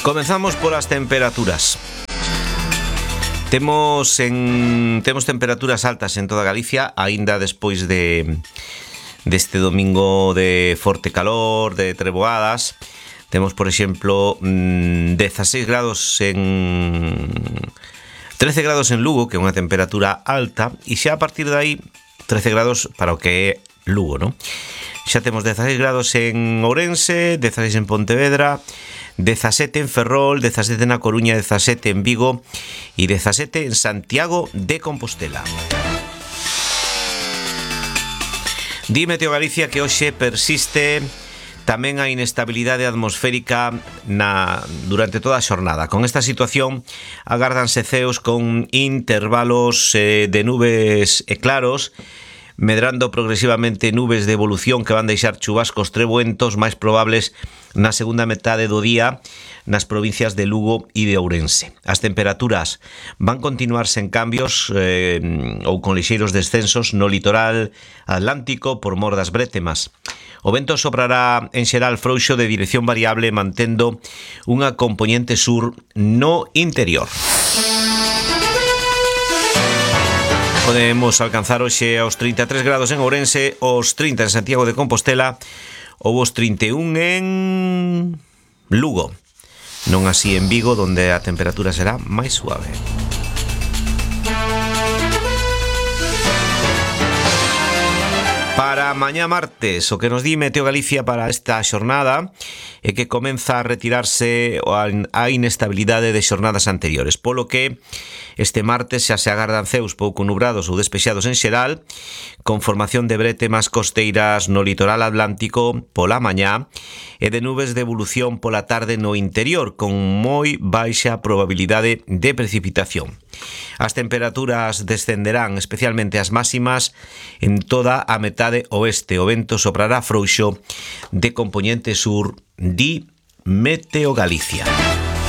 Comenzamos polas temperaturas. Temos temperaturas altas en toda Galicia, aínda despois deste domingo de forte calor, de treboadas. Temos, por exemplo, 16 grados 13 grados en Lugo, que é unha temperatura alta, e xa a partir de aí 13 grados para o que é Lugo, non? Xa temos 16 grados en Ourense, 16 en Pontevedra, 17 en Ferrol, 17 na Coruña, 17 en Vigo e 17 en Santiago de Compostela. Di Meteo Galicia que hoxe persiste tamén a inestabilidade atmosférica durante toda a xornada. Con esta situación agárdanse ceos con intervalos de nubes e claros, medrando progresivamente nubes de evolución que van deixar chubascos trebuentos máis probables na segunda metade do día nas provincias de Lugo e de Ourense. As temperaturas van continuar sen cambios ou con lixeiros descensos no litoral atlántico por mor das brétemas. O vento soprará en xeral frouxo de dirección variable mantendo unha compoñente sur no interior. Podemos alcanzar hoxe aos 33 grados en Ourense, os 30 en Santiago de Compostela ou os 31 en Lugo. Non así en Vigo, donde a temperatura será máis suave. Para mañá martes, o que nos di Meteo Galicia para esta xornada é que comeza a retirarse a inestabilidade de xornadas anteriores, polo que este martes xa se agardan ceos pouco nubrados ou despexados en xeral, con formación de brétemas costeiras no litoral atlántico pola mañá e de nubes de evolución pola tarde no interior, con moi baixa probabilidade de precipitación. As temperaturas descenderán, especialmente as máximas, en toda a metade oeste. O vento soprará frouxo de compoñente sur, di Meteo Galicia.